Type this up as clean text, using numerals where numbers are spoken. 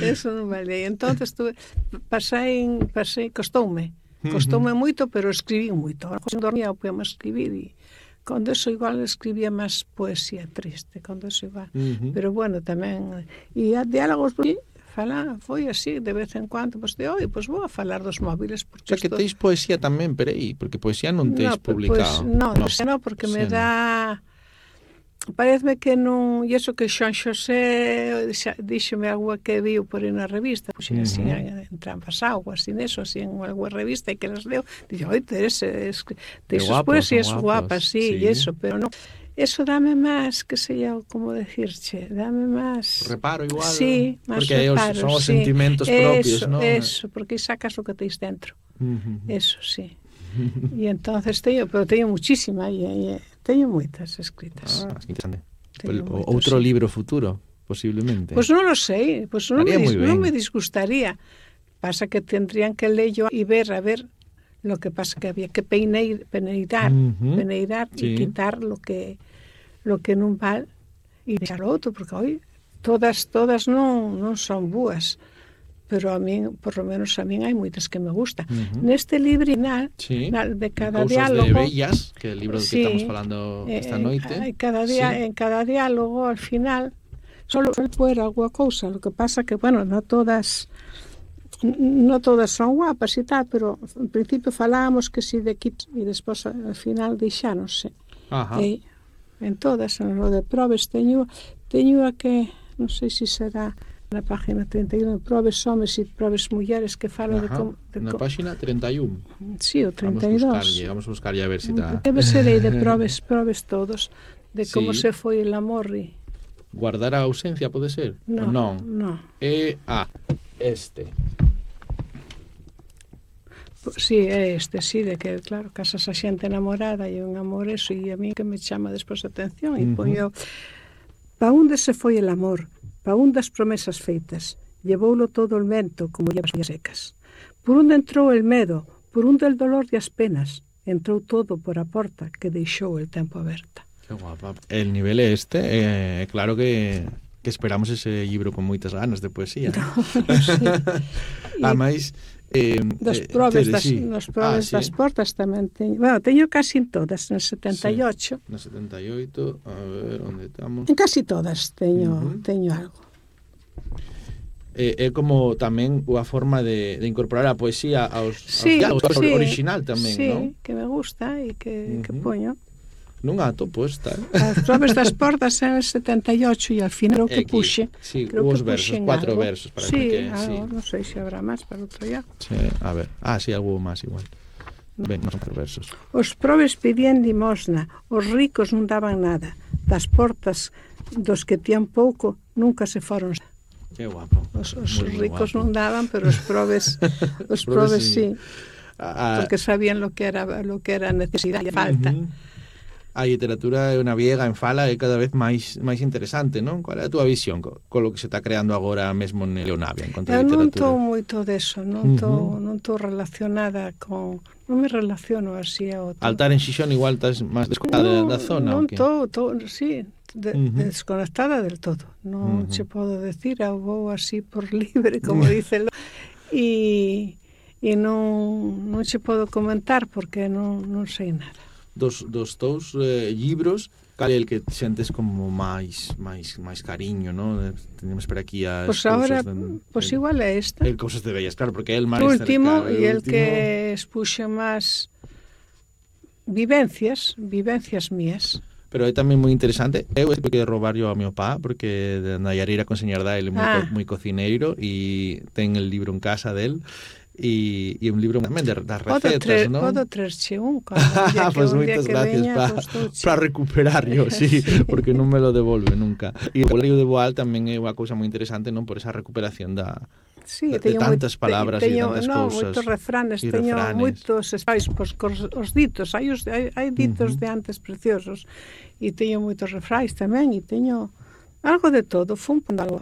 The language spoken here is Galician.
Eso non valía. Entonces costoume moito, pero escribí moito. Ahora, cando dormía, podíamos escribir e cando eso igual escribía máis poesía triste, cando eso igual. Pero bueno, tamén e diálogos foi así de vez en cuando, pois de hoy, pois vou a falar dos móviles porque O sea, que teis poesía tamén, peraí, porque poesía non teis publicado. Pois, non, porque me dá... Pareceme que non... E iso que Xoan Xosé díxome algo que viu por aí na revista, pois así en Trampas Augas, así neso, así en alguna revista e que las leo, dixo, oi, tes poesías guapas, sí, e iso, pero non... Eso dame máis, que sei eu, como decirche, dame máis... Reparo igual, sí, máis porque reparo, son os sentimentos propios, non? Eso, porque sacas o que teis dentro. Eso, sí. E entonces teño muchísima, teño moitas escritas. Que interesante. Outro libro futuro, posiblemente. Pois non lo sei, pois non me disgustaría. Pasa que tendrían que leerlo e ver, a ver, lo que pasa que había que peneirar e quitar lo que non val e deixar outro, porque hoy todas non son boas. Pero a min, por lo menos a min, hai moitas que me gustan. Neste libro final, de cada diálogo... Cousas de Bellas, que é o libro que estamos falando esta noite. En cada diálogo, al final, solo poer alguna cousa. Lo que pasa que, bueno, non todas son guapas e tal, pero en principio falábamos que si de kits e despois al final deixáronse. En todas, en lo de probes, teño a que, non sei se será... na página 31, probes homes e probes mulleres, que falo de como... Na página 31? Sí, o 32. Vamos a buscarlle a ver se está... Debe ser aí de probes todos, de como se foi el amor e... Guardar a ausencia, pode ser? Non. Este. Sí, é este, sí, de que, claro, casas a xente enamorada e un amor eso, e a mí que me chama despois a atención, e poño... Pa onde se foi el amor? Pa un das promesas feitas, llevoulo todo el vento como llevas as secas. Por onde entrou el medo, por onde el dolor e as penas, entrou todo por a porta que deixou el tempo aberta. Que guapa. El nivel é este, claro que esperamos ese libro con moitas ganas de poesía. Ademais... Nos probes das portas tamén teño. Bueno, teño casi todas, en 78. No 78, a ver, onde estamos? En casi todas teño algo. É como tamén unha forma de incorporar a poesía aos diálogos original tamén, non? Sí, que me gusta e que poño. Non atopo esta. As probes das portas en el 78 e al final o que puxe. Sí, os versos, 4 versos para que non sei se habrá máis para outro día. Sí, a ver. Sí, algo máis igual. Ben, non son 4 versos. Os probes pedían limosna, os ricos non daban nada. Das portas dos que tían pouco nunca se foron. Que guapo. Os ricos non daban, pero os probes sí. Porque sabían lo que era necesidade e falta. A literatura é unha viega en fala é cada vez máis interesante, non? Qual é a túa visión con lo que se está creando agora mesmo en Leonavia en contra da literatura? Eu non estou moito deso, non estou relacionada con... Non me relaciono así a outro. Altar en Xixón igual estás máis desconectada da zona? Non estou, sí, desconectada del todo. Non che podo decir, vou así por libre, como dicen. E non che podo comentar porque non sei nada. Dos teus libros, cal é el que sentes como máis cariño, non? Tenemos por aquí as cousas... Ahora, pois igual é esta. El Cousas de Bellas, claro, porque é el máis último, e el que expuxe máis vivencias mías. Pero é tamén moi interesante. Eu estou que roubar yo a meu pá, porque de Nayareira con Señardá ele é moi cocineiro e ten el libro en casa del. E un libro tamén das recetas, non? Podo traerche un. Pois moitas gracias para recuperar yo, sí, porque non me lo devolve nunca. E o Leio de Boal tamén é unha cousa moi interesante, non? Por esa recuperación de tantas palabras e tantas cousas. Moitos refranes, teño moitos espais, os ditos, hai ditos de antes preciosos, e teño moitos refrais tamén, e teño algo de todo, fun pondo algo